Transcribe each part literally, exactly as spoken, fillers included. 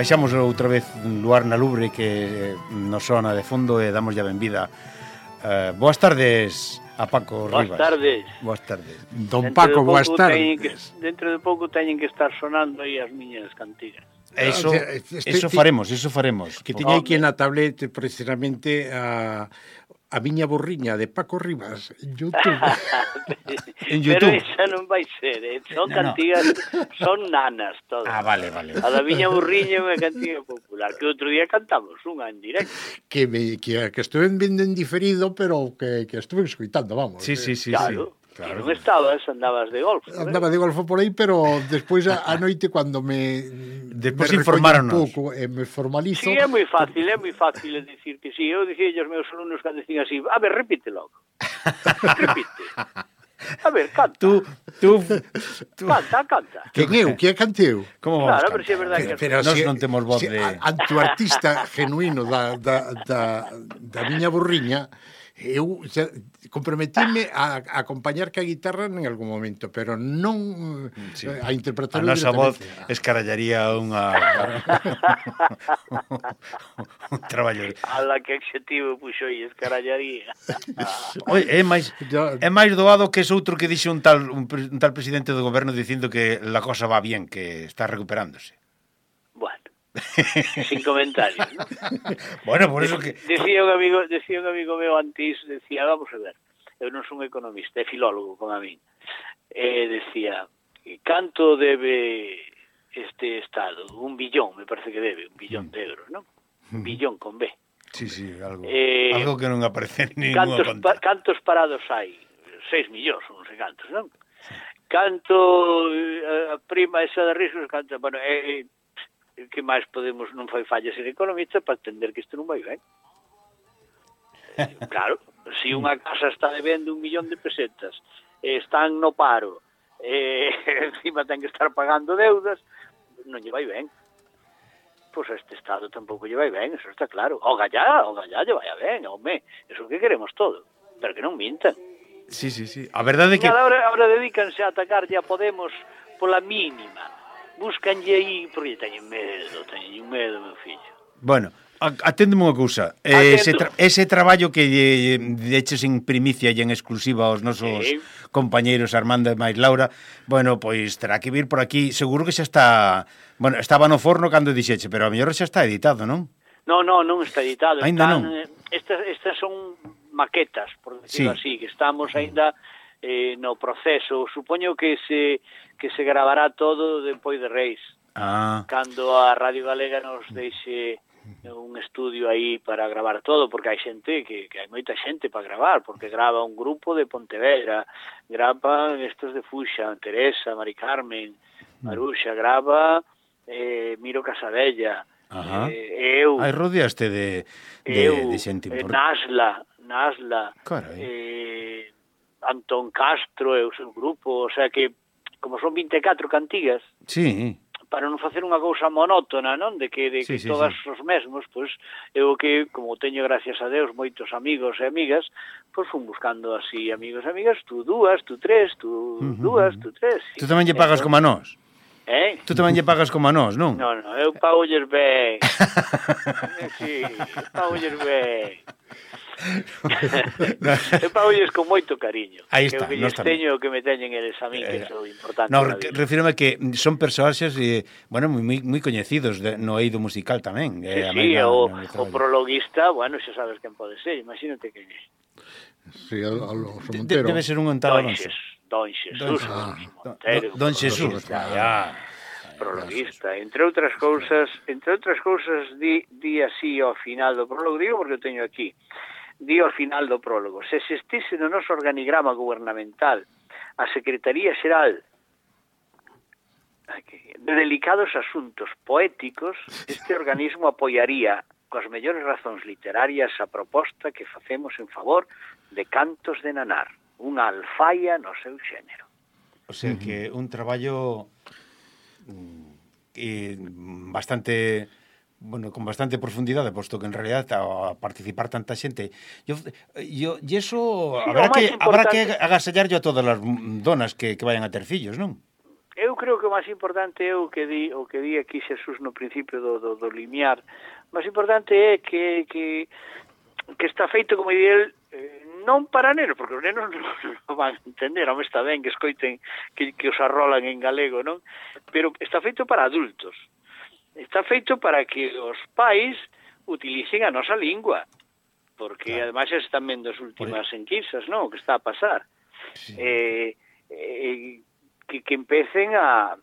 baixamos outra vez Luar na Lubre que nos sona de fondo e damos ya benvida. Uh, boas tardes a Paco boas Rivas. Tardes. Boas tardes. Don dentro Paco, boas tardes. Que, dentro de pouco teñen que estar sonando aí as miñas cantigas. Eso, eso faremos, eso faremos. Que teña aquí na tablete precisamente a... a miña burriña de Paco Rivas en YouTube. En YouTube. Pero esa non vai ser, eh? Son no, cantigas, no. son nanas todas. Ah, vale, vale. A da miña burriña é unha cantiga popular, que outro día cantamos unha en directo. Que, me, que, que estuve vendo en diferido, pero que, que estuve escuitando, vamos. Sí, sí, sí. Claro. Sí. Claro. Non estabas, andabas de golfo. Andaba de golfo por aí, pero despois a, a noite cando me despois informaron un pouco e me formalizo. Sí, é moi fácil, é moi fácil dicir que sí. Eu dicía aos meus alumnos cando dicían así, a ver, repite logo. repite. A ver, canta. Tú, tú, tú... Canta, canta. Quen eu? Que é canteu? Como claro, vamos pero si é verdade que... Pero nós si, non temos voz si, de... Ante o artista genuíno da, da, da, da miña burriña, eu comprometíme a, a acompañar ca guitarra en algún momento, pero non sí. a interpretar a nosa voz escarallaría unha un traballo. A la que adxetivo puxo aí, escarallaría. Oi, é máis é máis doado que ese outro que dixo un tal un, un tal presidente do goberno dicindo que la cosa va bien, que está recuperándose. Bueno, sin comentarios, ¿no? Bueno, por eso que decía un amigo, decía un amigo meu antes, decía, vamos a ver, eu non son economista, é filólogo como a min. E decía, canto debe este Estado? Un billón, me parece que debe, un billón de euros, ¿no? Un billón con B. Sí, sí, algo, eh, algo que non aparece en ninguna cantos, conta. Pa, cantos parados hai? Seis millóns, non sei cantos, non? Canto a prima esa de riscos, canto, bueno, é... Eh, que máis podemos, non fai falla ser economista para entender que isto non vai ben. Claro, se unha casa está debendo un millón de pesetas, están no paro, e encima ten que estar pagando deudas, non lle vai ben. Pois a este Estado tampouco lle vai ben, eso está claro. O gallá, o gallá lle vai ben, home, eso que queremos todo, pero que non mintan. Sí, sí, sí. A verdade é que... Ahora, ahora dedícanse a atacarlle a Podemos pola mínima. Búscanlle aí, porque teñen medo, teñen medo, meu fillo. Bueno, aténdeme unha cousa. Ese, tra ese traballo que deches en primicia e en exclusiva aos nosos sí. compañeiros Armando e máis Laura, bueno, pois terá que vir por aquí. Seguro que xa está... Bueno, estaba no forno cando dixeche, pero a mellor xa está editado, non? Non, non, non está editado. Ainda Están, non? Estas, estas son maquetas, por decirlo sí. así, que estamos ainda... Eh, no proceso, supoño que se que se gravará todo depois de Reis. Ah. Cando a Radio Galega nos deixe un estudio aí para gravar todo, porque hai xente que, que hai moita xente para gravar, porque grava un grupo de Pontevedra, grava estos de Fuxa, Teresa, Mari Carmen, Maruxa, grava eh, Miro Casabella, eh, eu... Hai rodeaste de, de, eu, de xente eh, Nasla, Nasla, Carai. eh, Antón Castro e o seu grupo, o sea que, como son vinte e catro cantigas, sí. para non facer unha cousa monótona, non? De que, de sí, que sí, todas sí. os mesmos, pois, eu que, como teño, gracias a Deus, moitos amigos e amigas, pois fun buscando así amigos e amigas, tú dúas, tú tres, tú uh -huh. dúas, tú tres. Tú tamén lle pagas como a nós? Eh? Tú tamén lle pagas como a nós, non? Non, non, eu pago lles ben. Sí, eu pago lles ben. Eu pagolles con moito cariño. Aí está, que o que lles teño o que me teñen eles a mí, que é o importante. No, refírome que son personaxes eh, bueno, moi, moi coñecidos de, no eido musical tamén. Sí, eh, sí, na, o, o prologuista, bueno, xa sabes quen pode ser, imagínate que é. Sí, Alonso Montero. Debe ser un tal Alonso. Don Xesús. Ah, Montero, don, don Xesús, ya. Prologuista, entre outras cousas, entre outras cousas di, di así ao final do prólogo, digo porque o teño aquí. Di ao final do prólogo, se existise no noso organigrama gubernamental a Secretaría Xeral de delicados asuntos poéticos, este organismo apoiaría coas mellores razóns literarias a proposta que facemos en favor de Cantos de Nanar, unha alfaia no seu xénero. O sea que un traballo eh, bastante... bueno, con bastante profundidade, posto que en realidad a participar tanta xente, yo, yo, y eso sí, habrá que habrá que agasallarlo a todas as donas que, que vayan a ter fillos, non? Eu eu creo que o máis importante é o que di, o que di aquí Xesús no principio do, do, do limiar. O máis importante é que, que, que está feito, como di el, eh, non para nenos, porque os nenos non, non van a entender, home, está ben que escoiten que, que os arrolan en galego, non? Pero está feito para adultos. Está feito para que os pais utilicen a nosa lingua, porque claro, ademais están vendo as últimas enquisas, non? O que está a pasar. Sí. Eh, eh, que, que empecen a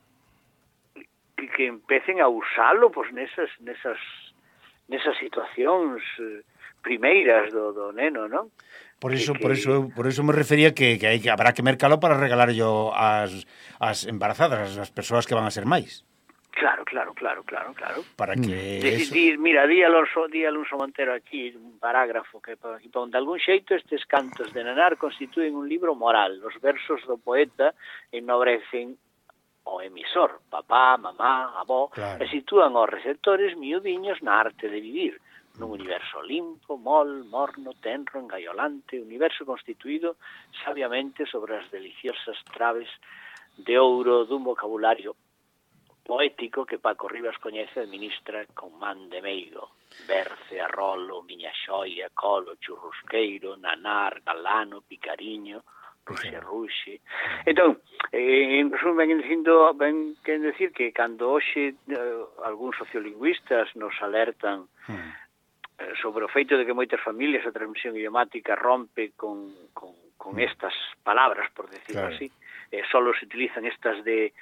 que, que empecen a usalo pois nesas nesas nesas situacións eh, primeiras do, do neno, non? Por eso, que, por eso, por eso me refería que, que, hai, que habrá que mercalo para regalar yo as, as embarazadas, as persoas que van a ser máis. Claro, claro, claro, claro, claro. Para que de, eso... di, mira, di Alonso, di Alonso Montero aquí, un parágrafo que aquí pon, de algún xeito estes cantos de nanar constituen un libro moral. Os versos do poeta ennobrecen o emisor, papá, mamá, avó, claro, e sitúan os receptores miudiños na arte de vivir, nun universo limpo, mol, morno, tenro, engaiolante, universo constituído sabiamente sobre as deliciosas traves de ouro dun vocabulario poético que Paco Rivas coñece e administra con man de meigo. Berce, arrolo, miña xoia, colo, churrusqueiro, nanar, galano, picariño, ruxe, ruxe. Entón, eh, en resumen, ben dicindo, ben queren decir que cando hoxe eh, algúns sociolingüistas nos alertan eh, sobre o feito de que moitas familias a transmisión idiomática rompe con, con, con estas palabras, por decirlo claro, así, eh, solo se utilizan estas de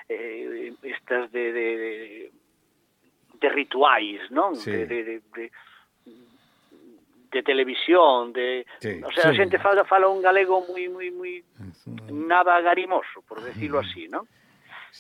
eh, estas de, de, de, de rituais, non? Sí. De, de, de, de, de televisión, de, sí, o sea, sí, a xente fala, fala un galego moi moi moi nada garimoso, por decirlo así, non?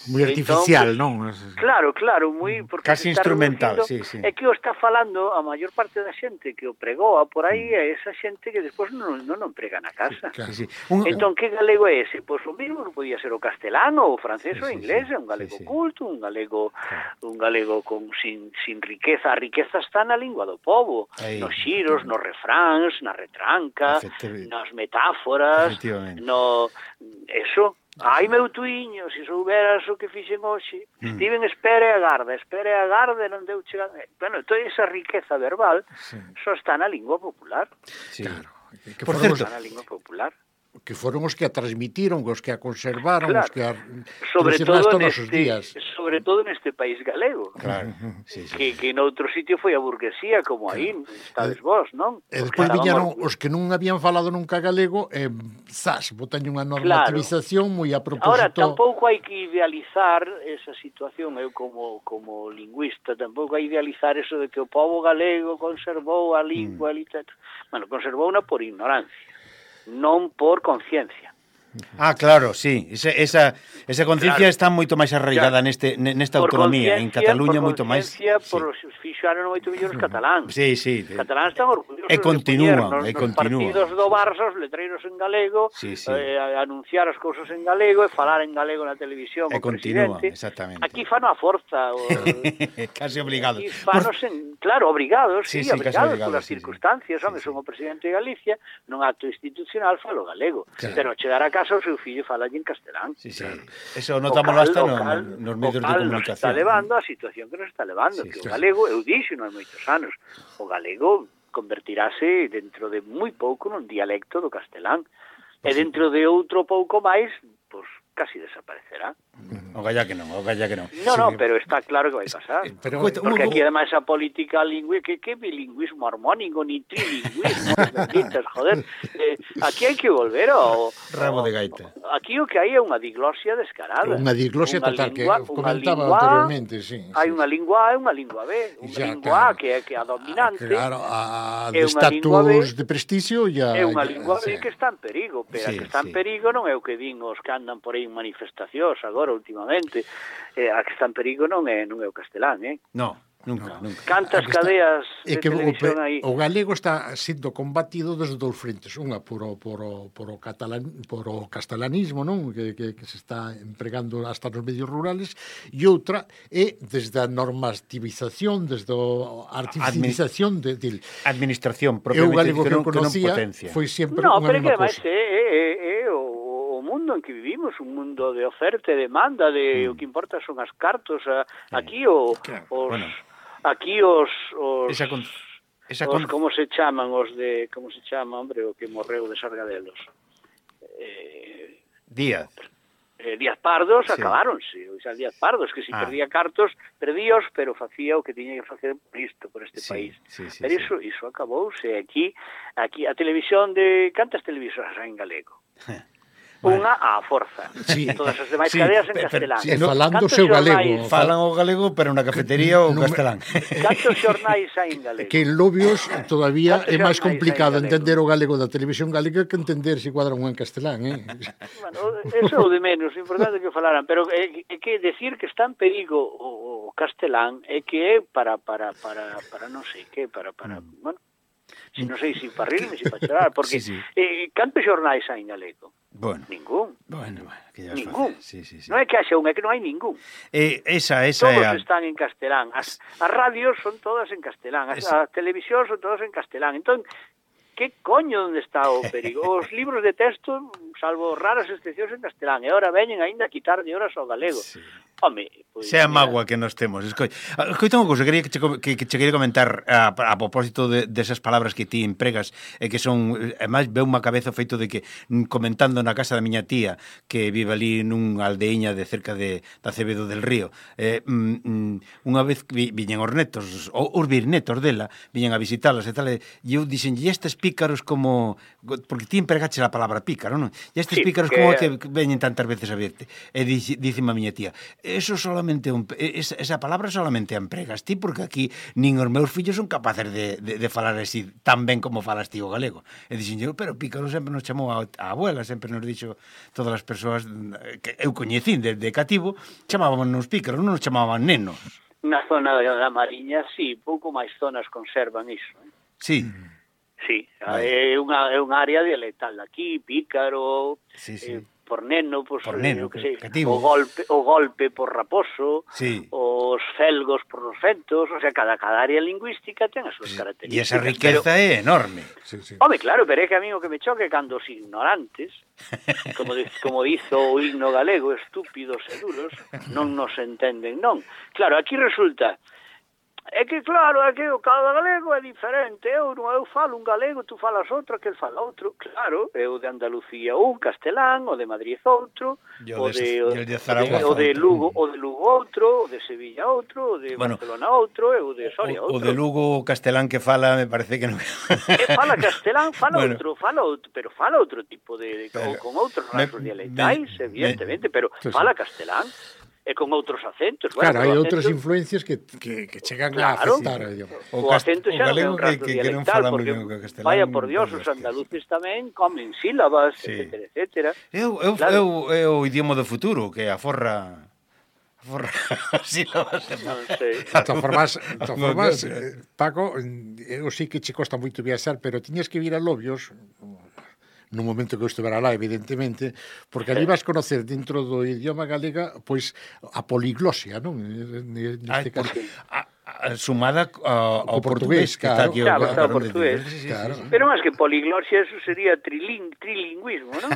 Moi artificial, entón, non? Claro, claro, moi porque casi instrumental, sí, sí. É que o está falando a maior parte da xente que o pregoa por aí é esa xente que despois non non o prega na casa. Sí, sí. Un, entón, que galego é ese? Pois o mesmo que podía ser o castelano, o francés, sí, o inglés, sí, sí, un galego sí, sí, culto, un galego sí, un galego con sin sin riqueza, a riqueza está na lingua do pobo, aí, nos xiros, nos refráns, na retranca, nas metáforas, no eso. Ai, meu tuiño, se souberas o que fixen hoxe, mm. Estiven espere e agarda, espere e agarda, non deu chegar... Bueno, toda esa riqueza verbal sí, só está na lingua popular. Sí. Claro. Que por certo, está na lingua popular. Que foron os que a transmitiron, os que a conservaron, claro, os que a sobre todo neste, días. Sobre todo neste país galego. Claro. Sí, sí. Que, que en outro sitio foi a burguesía, como aí, claro, estades vos, non? E despois viñeron os que non habían falado nunca galego, e, zas, botaño unha normativización claro, moi a propósito... Ahora, tampouco hai que idealizar esa situación, eu como, como lingüista, tampouco hai que idealizar eso de que o povo galego conservou a lingua, mm. a literatura... Bueno, conservou unha por ignorancia, non por conciencia. Ah, claro, sí, esa, esa, esa conciencia claro, está moito máis arraigada claro, neste, nesta autonomía, en Cataluña moito máis... Por conciencia, por fixaron moito mellor os cataláns. Sí, sí. Os cataláns están orgullosos e continúan, de poñer nos, e continúan. Nos partidos do Barça, os letreiros en galego, sí, sí, eh, anunciar as cousas en galego e falar en galego na televisión e o continúan, presidente. Exactamente. Aquí fan a forza. O, casi obligados. Aquí fanos en, claro, obrigados, sí, sí, sí obrigados, obrigados polas sí, circunstancias. Sí, home, sí, son o presidente de Galicia, nun acto institucional falo galego. Claro. Pero chegar a casa o seu fillo fala en castelán. Sí, sí. Claro. Eso notámoslo hasta no, nos medios de comunicación. Nos está levando a situación que nos está levando, sí, que o galego, eu dixo non hai moitos anos, o galego convertirase dentro de moi pouco nun dialecto do castelán, e dentro de outro pouco máis, pois casi desaparecerá. O galla que non, o galla que non. No, sí, no, pero está claro que vai pasar. Pero, porque aquí, además, a política lingüística, que, que bilingüismo armónico, ni trilingüismo, benditas, joder. Eh, aquí hai que volver ao... Rabo de gaita. Aquí o que hai é unha diglosia descarada. Unha diglosia unha total, lingua, que comentaba lingua, anteriormente, sí. Hai sí, unha lingua A e unha lingua B. Unha ya, lingua claro, A, que é, que é a dominante. Claro, a de estatus de prestigio ya... É unha lingua B sí, que está en perigo, pero sí, a que está en sí, perigo non é o que din os que andan por aí en manifestacións agora, últimamente, eh, a que está en perigo non é non é o castelán, eh? No, nunca, no. nunca. Cantas cadeas de que televisión o, aí. O galego está sendo combatido desde dous frentes, unha por o, por o, por o, catalán, por o castelanismo, non? Que, que, que se está empregando hasta nos medios rurales, e outra é desde a normativización, desde a artificialización de, de... Administración, propiamente, o galego que, que, non, que conocía que non potencia. Foi sempre no, unha mesma cousa. No, pero que además é, é, é o mundo mundo en que vivimos, un mundo de oferta e demanda, de mm. o que importa son as cartos, a, aquí o, claro, os bueno. aquí os os, esa con, esa os con... como se chaman os de, como se chama, hombre, o que morreu de Sargadelos. Eh, Díaz. Eh, Díaz Pardos, sí. Acabáronse, o sea, Díaz Pardos, que si ah. perdía cartos, perdíos, pero facía o que tiña que facer por isto, por este sí, país. Sí, sí, pero sí. iso, iso acabouse. Aquí, aquí a televisión de... Cantas televisoras hai en galego? Unha á forza. Sí. Todas as demais sí, cadeas en castelán. Sí, falando o seu galego. Falan o galego, pero na cafetería o no, castelán. Cantos xornais hai en galego? Que en Lobios todavía é máis complicado entender o galego da televisión galega que entender se cuadran un en castelán, eh? Bueno, eso é o de menos, importante que falaran, pero é, é que decir que está en perigo o, o castelán é que é para, para, para, para non sei que, para, para, mm. bueno, si non sei se si para rirme, se si para chorar, porque sí, sí. Eh, cantos xornais hai en galego? Bueno. Ningún. Bueno, bueno, que ya ningún. Sí, sí, sí. Non é que haxa un, é que non hai ningún. Eh, esa, esa todos é a... están en castelán. As, as radios son todas en castelán. As, es... as televisións son todas en castelán. Entón, que coño onde está o perigo? Os libros de texto, salvo raras excepcións en castelán, e ahora veñen aínda a quitarlle horas ao galego. Sí. Home, pois, sea magua que nos temos. Escoi, escoita unha cousa, quería que che, que, que che quería comentar a, a propósito de, desas de palabras que ti empregas e que son, además, veu unha cabeza o feito de que, comentando na casa da miña tía, que vive ali nun aldeiña de cerca de, de Acevedo del Río, eh, mm, unha vez vi, viñen os netos, os bisnetos dela, viñen a visitalas e tal, e eu dixen, e estes pícaros como... Porque ti empregaches a palabra pícaro, non? E estes sí, pícaros que... como que veñen tantas veces a verte? E dicime a miña tía, eso solamente un, esa, esa palabra solamente a empregas ti, porque aquí nin os meus fillos son capaces de, de, de falar así tan ben como falas ti o galego. E dixen eu, pero pícaro sempre nos chamou a, a abuela, sempre nos dixo todas as persoas que eu coñecín desde cativo, chamábamos pícaros, non nos chamaban nenos. Na zona da Mariña, sí, pouco máis zonas conservan iso. Eh? Sí. Sí, é unha, é unha área dialectal aquí, pícaro, sí, sí. Eh, por neno, pues, por neno, que sei, o golpe, o golpe por raposo, sí. os felgos por os fentos, o sea, cada, cada área lingüística ten as súas sí. características. E esa riqueza pero, é enorme. Sí, sí. Home, claro, pero é que a mí o que me choque cando os ignorantes, como, de, como dizo o himno galego, estúpidos e duros, non nos entenden, non. Claro, aquí resulta... É que, claro, é que o cada galego é diferente. Eu, eu falo un galego, tú falas outro, que el fala outro. Claro, eu de Andalucía un, castelán, o de Madrid outro, o de, o, de, o de Lugo o de Lugo outro, o de Sevilla outro, o de bueno, Barcelona outro, e o de Soria outro. O de Lugo castelán que fala, me parece que non... E fala castelán, fala bueno. outro, fala outro, pero fala outro tipo de... de pero, con outros rasgos dialectais, me, evidentemente, me, pero sí, fala castelán. E con outros acentos. Claro, bueno, hai outras influencias que, que, que chegan claro, a afectar. O, o acento xa non é un rasgo que, que dialectal, porque, castelán, vaya por Dios, os andaluces tamén comen sílabas, sí. etcétera, etcétera. Eu, eu, claro. eu, é o idioma do futuro, que aforra... aforra sílabas. Non sei. De todas formas, de todas formas Paco, eu sí que che costa moito viaxar, pero tiñas que vir a Lobios... no momento que eu estivera lá, evidentemente, porque ali vas conocer dentro do idioma galega, pois, a poliglosia, non? Neste caso, a, a, sumada a, ao portugués, que está aquí. Claro, está o portugués. Sí, sí, claro. Sí, sí. Pero máis que poliglosia, eso sería triling, trilingüismo, non?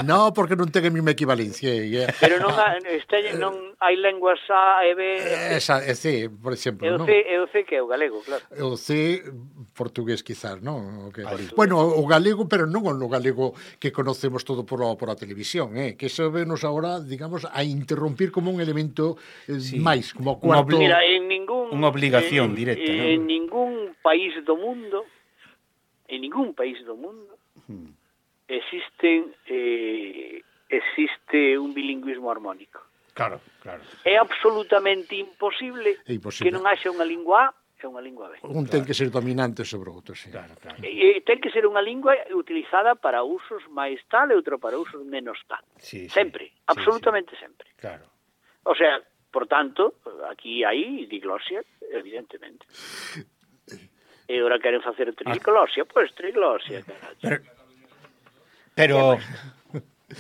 No, porque non ten a mesma equivalencia. Yeah. Pero non, ha, este, non hai lenguas A e B... Esa, é C, por exemplo, non? E o C que é o galego, claro. O C... portugués, quizás, non? Okay. Bueno, o galego, pero non o galego que conocemos todo por a, por a televisión, eh? Que eso venos agora, digamos, a interrompir como un elemento eh, sí. máis, como cuarto... Mira, en ningún... Unha obligación en, directa, en, non? En ningún país do mundo, en ningún país do mundo, hmm. existen, eh, existe un bilingüismo armónico. Claro, claro. É absolutamente imposible, é imposible. que non haxa unha lingua A é unha lingua B. Un ten claro. que ser dominante sobre outro, sí. Claro, claro. E, e ten que ser unha lingua utilizada para usos máis tal e outra para usos menos tal. Sí, sempre, sí, absolutamente sí. sempre. Claro. O sea, por tanto, aquí hai diglosia, evidentemente. E ora queren facer triglosia, pois pues, triglosia, pero, pero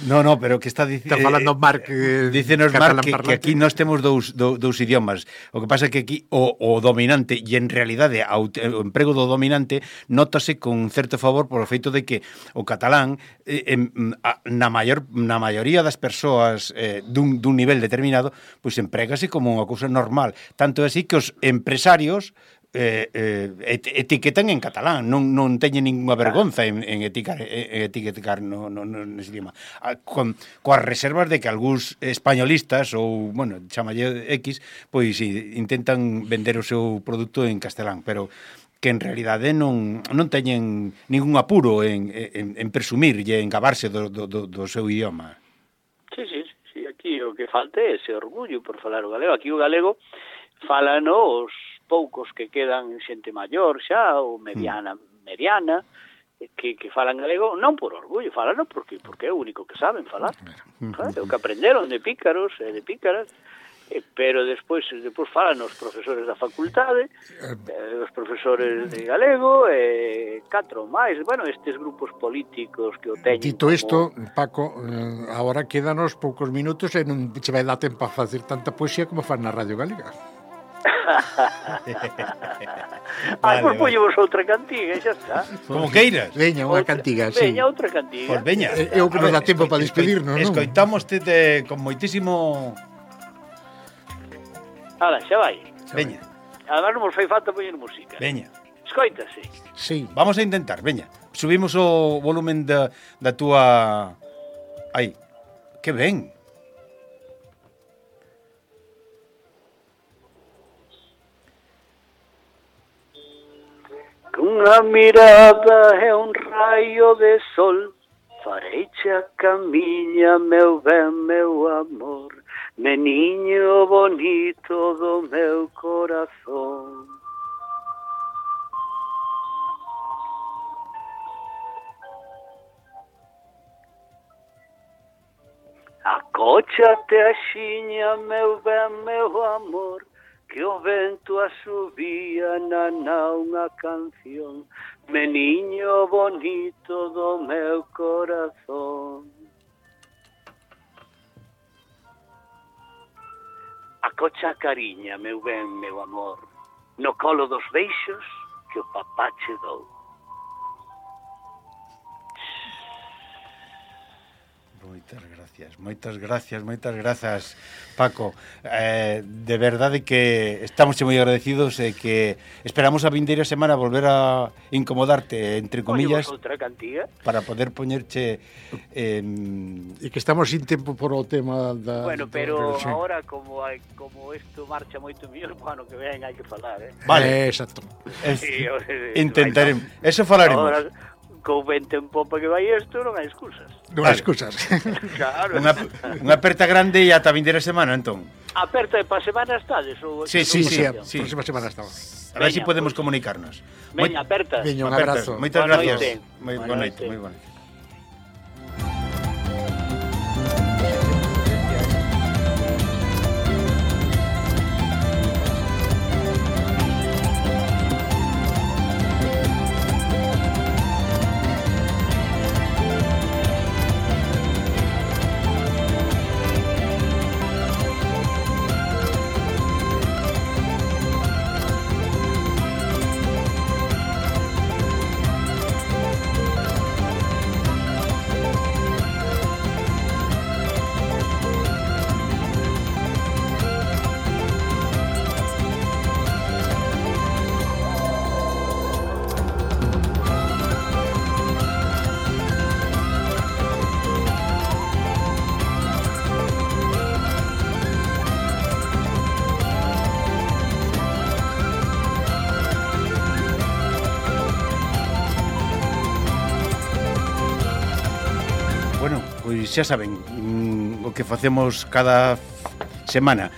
No, no, pero que está dicindo... Está falando Marc... Eh, Dícenos Marc que, que aquí nós temos dous, dous, dous idiomas. O que pasa é que aquí o, o dominante, e en realidade o emprego do dominante nótase con certo favor por o feito de que o catalán eh, en, a, na, maior, na maioría das persoas eh, dun, dun nivel determinado, pois emprégase como unha cousa normal. Tanto é así que os empresarios Eh, eh, etiquetan en catalán, non, non teñen ninguna vergonza en, en eticar, en etiquetar no, no, no, nese idioma. Con, coas reservas de que algúns españolistas ou, bueno, chamalle X, pois intentan vender o seu produto en castelán, pero que en realidade non, non teñen ningún apuro en, en, en presumir e en gabarse do, do, do seu idioma. Sí, sí, sí, aquí o que falta é ese orgullo por falar o galego. Aquí o galego falan os poucos que quedan xente maior xa, ou mediana, mediana, que, que falan galego, non por orgullo, falan porque, porque é o único que saben falar. Claro, o que aprenderon de pícaros e de pícaras, eh, pero despois despois falan os profesores da facultade, eh, os profesores de galego, e eh, catro máis, bueno, estes grupos políticos que o teñen. Dito isto, como... Paco, eh, agora quedanos poucos minutos e non che vai dar tempo a facer tanta poesía como fan na Radio Galega. Ai, pois poñemos outra cantiga, xa está. Como queiras. Veña, unha cantiga, sí. Veña, outra cantiga. Pois veña. É o que nos dá tempo para despedirnos, non? Escoitámoste de, con moitísimo... Ala, xa vai. Veña. Además non nos fai falta poñer música. Veña. Escoítase. Sí. Vamos a intentar, veña. Subimos o volumen da, da túa... Aí. Que ben. Cunha mirada e un raio de sol fareiche a camiña, meu ben, meu amor, meniño bonito do meu corazón. Acóchate axiña, meu ben, meu amor, que o vento asubía na na unha canción, meniño bonito do meu corazón. Acocha a cariña, meu ben, meu amor, no colo dos beixos que o papá che dou. Moitas gracias, moitas gracias, moitas grazas, Paco. Eh, de verdade que estamos moi agradecidos e que esperamos a vindeira semana volver a incomodarte, entre comillas, outra cantiga para poder poñerche... Eh, e que estamos sin tempo por o tema da... Bueno, pero sí. Ahora, como hai, como isto marcha moito mellor, ano que ven hai que falar, eh? Vale, eh, exacto. Es, sí, intentaremos, eso falaremos. Ahora, co vento en popa que vai isto, non hai excusas. Non hai excusas. Claro. Unha, unha aperta grande e ata a vindeira semana, entón. Aperta e pa semana estades? Ou, sí, sí, sí, sí. Próxima semana estamos. A ver se si podemos pues, comunicarnos. Veña, aperta. Veña, un abrazo. Moitas gracias. Moi boa noite, moi boa noite. Xa saben, mm, o que facemos cada semana,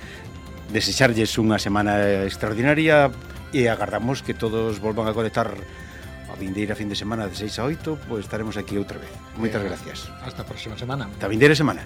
desexarlles unha semana extraordinaria e agardamos que todos volvan a conectar a vindeira fin de semana de seis a oito, pois estaremos aquí outra vez. Moitas gracias. Hasta a próxima semana. Hasta a vindeira semana.